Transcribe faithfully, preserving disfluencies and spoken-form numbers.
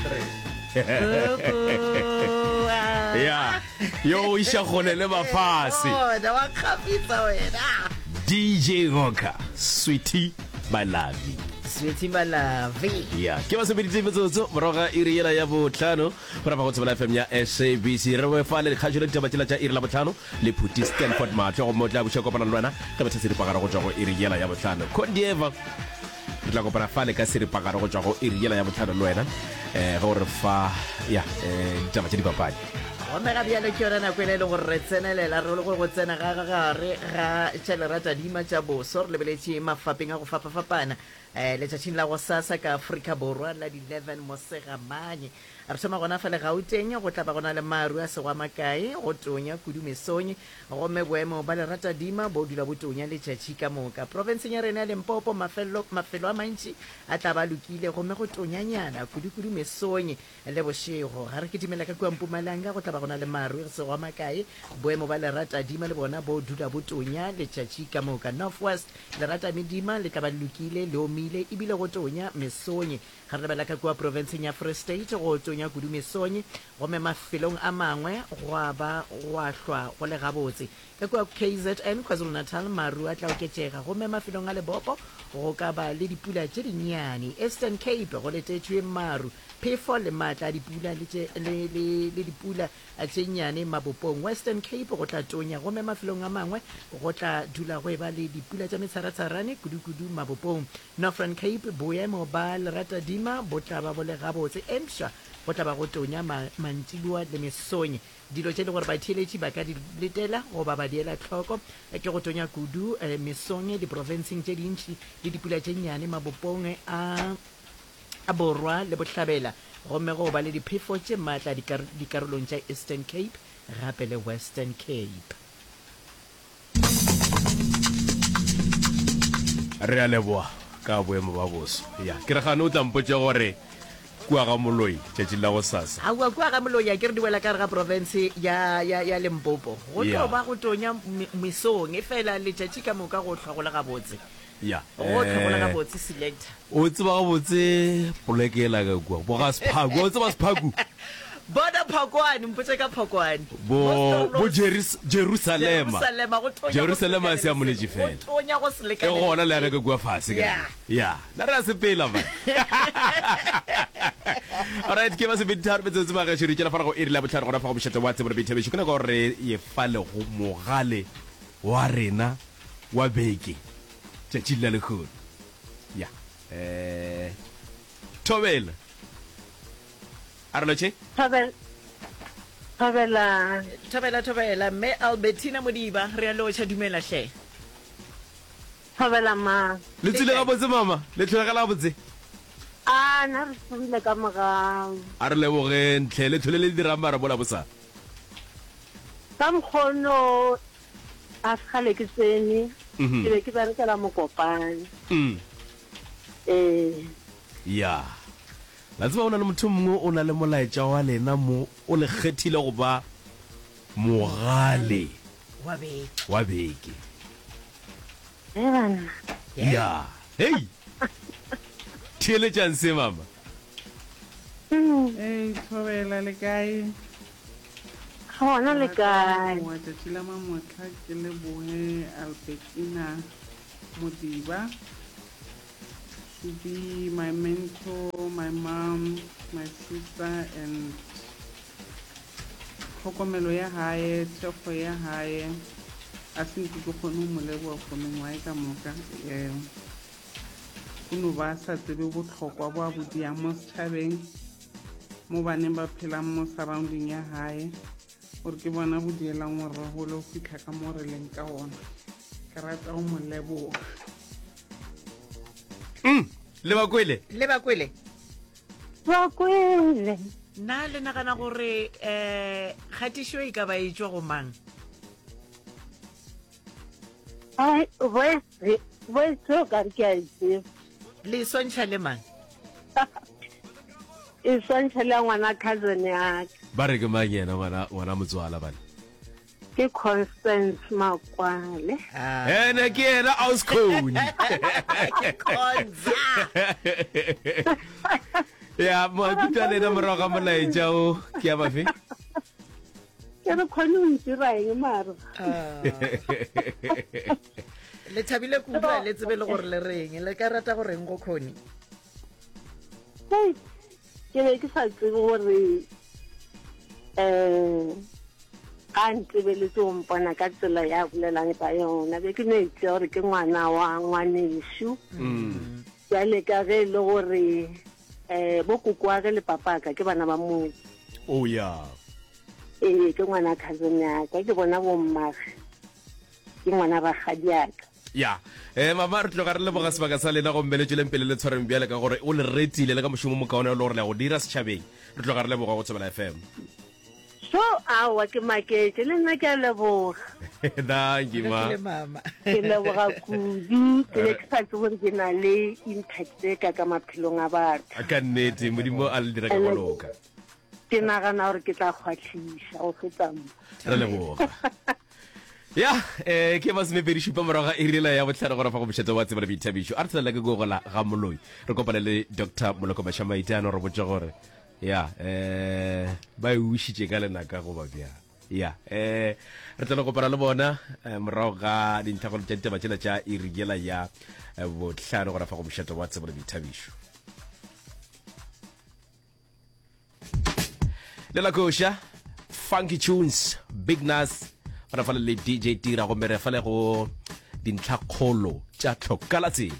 hundred. Kuku, ah. Ya, yo o iša kgole le mafase. Bona, wa kgafetsa wena. D J Rocker, Sweetie My Lovey. Sweetie My Lovey. Ya, ke masomeditse metsotso morago ga iri yela ya botlhano go rapa go Thobela F M ya S A B C. Re boefa le dikgašo le ditaba tšela tša iri la botlhano le Phuti Stanford Matlho, gomme o tla buša kopana le wena ge betha seripagare go tšwa go iri yela ya botlhano. Condieva, re tla kopana fale ka seripagare go tšwa go iri yela ya botlhano le wena um ge o re fa ya um ditaba tša dipapadi. Gomme ga bjalo ke yona nako ela e leng gore re tsenelela re le gore go tsena ga gare ga tša leratadima tša boso, re lebeletše mafapeng a go fapafapana um letšatšing la go sasa ka Afrika Borwa la di-eleven Mosegamanye. Re thoma gona fa le Gauteng, go tla ba gona le maru a sego a makae, go tonya kudu mesong, gomme boemo ba leratadima bo dula bo tonya letšatši ka moka. Profenseng ya rena ya Limpopo, mafelo, mafelo a mantši a tla ba lokile, gomme go tonyanyana kudu-kudu mesong le bošego. Ga re kitimela ka kua Mpumalanga, go tla ba gona le maru a sego a makae, boemo ba leratadima le bona bo dula bo tonya letšatši ka moka. North West, leratadima le tla ba le lokile, le omile ebile go tonya mesong. Ga re lebela ka kua profenseng ya Free State, go tonya kudu mesong, gomme mafelong a mangwe gwa ba gwa hlwa go le gabotse. Ka kua K Z N, KwaZulu-Natal, maru a tla oketšega, gomme mafelong a lebopo go ka ba le dipula tše dinnyane. Eastern Cape, go letetšwe maru, phefo le maatla a dipula le, tše, le, le, le dipula tše nnyane mabopong. Western Cape, go tla tonya, gomme mafelong a mangwe go tla dula go eba le dipula tša metsharatsharane kudu-kudu mabopong. Northern Cape, boemo ba leratadima bo tla ba bo le gabotse, empša go tla ba go tonya ma, mantšiboa le mesong. Dilo tše le gore batheeletši ba ka di letela goba ba di ela tlhoko ke go tonya kudu eh, mesong diprofenseng tše dintši le dipula tše nnyane mabopong a a borwa le bohlabela, gomme go ba le diphefo tše maatla dikar dikarolong tša Eastern Cape gape le Western Cape. Re a leboa ka boemo ba boso. Ya, ke re gane o tla mpotša gore kua ga Moloi tšatšing la go sasa. Aowa, kua ga Moloi a ke re di wela ka gare ga profense ya, ya, ya Limpopo. Go tlo Ya. ba go tonya me, mesong, efela letšatši ka moka go hlwa go le gabotse. Ya. Go hlwa go le Eh, gabotse, selector. O tseba gabotse poleke yela ka kua, bo ga Sephaku. O tseba Sephaku? Bona Phokwane, mpotše ka Phokwane. Bo, Mo bo Stolos. Jerus, Jerusalema. Jerusalema, go tonya go se Jerusalema lekane se a le moletše selo. Go fela. tonya go se E lekane le gona le selo. ka kua fase ka. Yeah. Ya, na re a sepela man. Alright, ke ba sepedi tharo metsotso ba gešo re tšela fara go iri la bohlano gona fa go mošate wa tsebo le boithabišo. Ke nako ya gore re ye fa le go mogale wa rena wa beke tšatšing la lehono. Ya. Eh Thobela. A re lotšhe? Thobela. Thobela. Thobela, thobela, Mme Albertina Modiba, re a lotšha, dumela hle. Thobela ma. Le Le tswile kae? gabotse mama, le tlholegela gabotse. A na re tsogile ka mogau. A re lebogeng tlhe, le tlhole le dirang mara mola bosa. Ka mokgono a sekgale ke tsene, Mhm. ke be ke berekela Mokopane. Mm. Ee. Ya. La tseba o na le motho mongwe o na le molaetša wa lena mo o le kgethile go ba mogale Wa beke. wa beke. Ge banna. Yeah. Ya. Hei. Theeletšang se mama. Mm. Ei, Thobela, le kae? Gona Ke le rata go kae? leboga tšatši la mamohla, ke leboge Albertina Modiba to be my mentor, my mom, my sister and tlhokomelo ya hae, thekgo ya hae, a se nke ke kgone go mo leboga for mengwaga e ka moka. Um o no ba a sa tsebe bohlokwa bo a bo diang mo setšhabeng, mo baneng ba phelang mo surrounding ya hae, gore ke bona bo dielang gore re gole go fitlha ka mo re leng ka ona. Ke rata go mo leboga. Mm. Le ba kwele? Le ba kwele? Ba kwele. Na le nagana gore eh kgatišo e ka ba e tšwa go mang? Ai, voice, voice o ka re ke a e tseba. Le e swantšha le mang? E swantšha le ya ngwana cousin ya ka. Ba re ke mang yena ngwana ngwana motswala bana? Ke Constance Makwale. Ah. Ene ke yena Auscone. Ke Conza. Ya, maikutlo a lena morago ga molaetša o ke a mafe? Ke re khone o ntira eng mara? Ah. Le thabile kudu a le tsebe le gore le reng. Le ka rata go reng go Connie? Hei, ke be ke sa tsebe gore um ga a ntebeletse o mpona ka tsela ya bolelang ka yona. Be ke no e tšea gore ke ngwana wa ngwanešu. Bjale ka ge e le gore um bo kokoage le papaka ke bana ba motse. Oh ya. Ee, ke ngwana cousin ya ka, ke bona bommage, ke ngwana rakgadiaka. Ya. Eh mama, re tloga re leboga sebaka sa lena gomme le tšweleng pele le tshwareng bjale ka gore o le retile le ka mošomo o mokaone o le gore le ya go dira setšhabeng. Re tloga re leboga go Thobela F M. So, aowa ke maketše, le nna ke a leboga. Thank you, ma. Ke mama. Ke leboga kudu, ke be ke sa tsebe gore ke na le impact e ka ka maphelong a batho. Ka nnete, Modimo a le dira ka go loka. Ke nagana gore ke tla kgwahliša go feta mo. Re leboga. Ya, eh ke masomepedi šupa morago ga iri yela ya bohlano gona fa go mošate wa tsebo le boithabišo. A re tshelela ke gogola ga moloi. Re kopane le Doctor Moloko Mashamaite a no re botša gore ya eh ba e ušitše ka lenaka goba bjang. Ya, eh re tla no kopana le bona eh, morago ga dintlhakgolo tša ditaba tšela tša iri yela ya eh, bohlano gona fa go mošate wa tsebo le boithabišo. Lela koša, Funky Tunes, Big Nas, ba re fale le D J Tira gomme re fale go dintlhakgolo tša tlhokala tsela.